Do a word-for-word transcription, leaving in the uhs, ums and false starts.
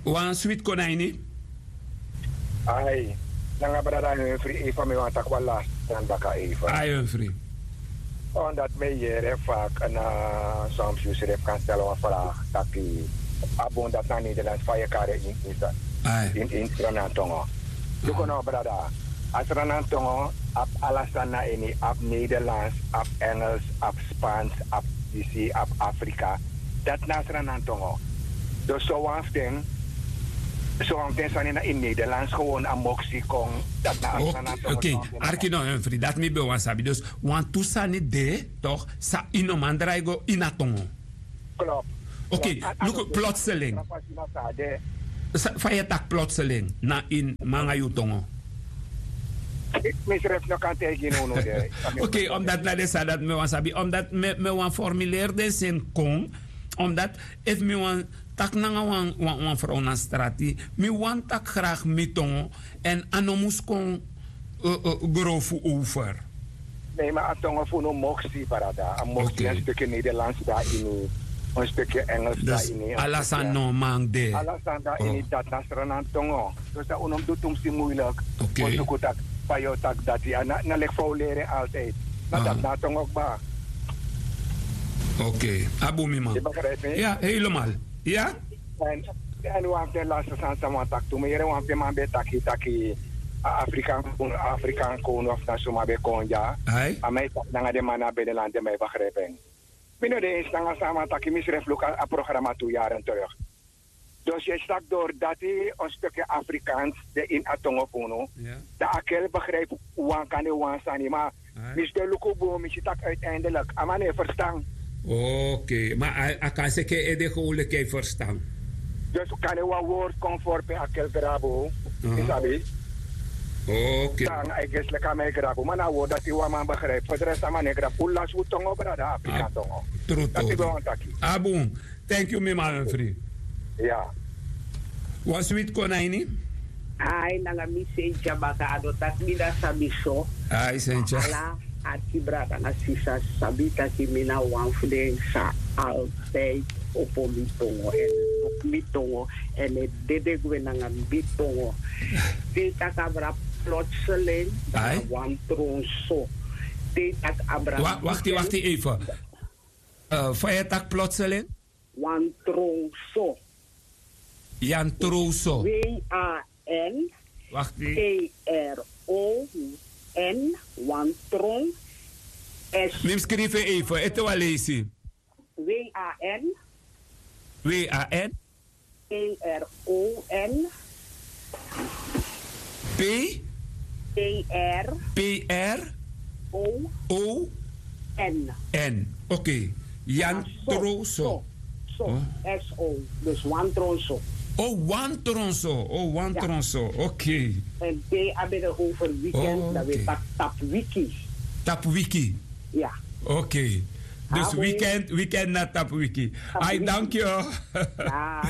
Wan switi kon na ini. Ai, nanga brada Humphrey, efu mi wani taki wan lasi sani baka efu. Ai, Humphrey. Omdat mi e yere fak na soms yu srefi kan stel wan vraag taki a bun dati na Nederlands fa yu e kari en ini Sranan tongo. Luku no brada, a Sranan tongo abi ala sani na ini, abi Nederlands, abi Engels, abi Spans, abi disi, abi Afrika. Dati na a Sranan tongo. Dus sowan fu den, sowan fu den sani na ini Nederlands gewoon a moksi kon. Dati na a Sranan tongo. Oké, arki no, Humphrey, dati mi ben wani sabi. Dus wantu sani de, toch, san yu no man drai go ini a tongo. Klopu. Oké, luku, plotseling. Fa yu e taki plotseling na ini mi nanga yu tongo? Mi srefi no kan taigi unu de. Oké, omdat na den sani dati mi wani sabi, omdat mi wani formuleri den sani kon, omdat efu mi wani taki nanga wan, wan, wan frow na strati, mi wani taki gragi mi tongo, èn a no mus kon, eh, eh, grofu over. Nee, ma a tongo fu unu moksi, brada. A moksi, een stukje Nederlands daarin, een stukje Engels daarin. Dus ala sani no man de. Ala sani daarin, dati na Sranan tongo. Dus dan unu mus du tumsi moeilijk. Oké. Wi suku taki fa yu o taki dati, na, na leki fa wi leri altijd. Na dati na a tongo kba. Oké. A bun, mi man. Yu begrijp mi? Ja, helemaal. Ja? En, en wan fu den laatste sani san mi wani taki tu, mi yere wan fu den man ben taki, taki a Afrikan, Afrikan kownu of na suma ben kon dya. Ai. A man e taki nanga den man na binnenland, den man e begrijp en. Mi no de eens nanga san a man taki, mi srefi luku a, a programma tu yaren terug. Dus yu e si taki dori dati een stukje Afrikaans de ini a tongo fu unu. Ja. Dan a kel begrijp wan kande wan sani, ma mi si de luku bun, mi si taki uiteindelijk a man no e ferstan. Oké, ma a, a kan seki en ede gewoon leki a e ferstan. Dus kande wan woord kon voor pe a kel grabu, yu sabi. Oké. Dan a e gesi leki a man e grabu, ma na a woord dati wan man begrijp. Voor de rest a man no e grabu. Un lasi un tongo, brada, Afrika tongo. Tru tongo. Dati ben wani taki. A bun. Thank you, mi man Humphrey. Ya. Wan switi kon na ini. Ai, nanga mi Sentia baka, a no taki mi na sabi so. Ai, Sentia. Ala arki brada nanga sisa sabi taki mi na wan fu den san altijd opo mi tongo èn, mi tongo èn e dede gwe nanga mi tongo. Te yu taki abra plotseling, dan na wan tron so. Te yu taki abra... Wa-, wakti, wakti even. Eh, fa yu e taki plotseling? Wan tron so. Yu a tron so. W A N T R O N, wan tron. S. Mi mus skrifi en even, ete wan leisi. W A N. W A N. T R O N. P? T R. P R? O. O. N. N. Oké. Yu a tron so. So. S O. Dus wan tron so. O, wan tron so. O, wan tron so. Oké. En te a ben over weekend, dan we taki tapu wiki. Tapu wiki. Ya. Oké. Dus weekend, weekend na tapu wiki. Ai, dank yu. Ya.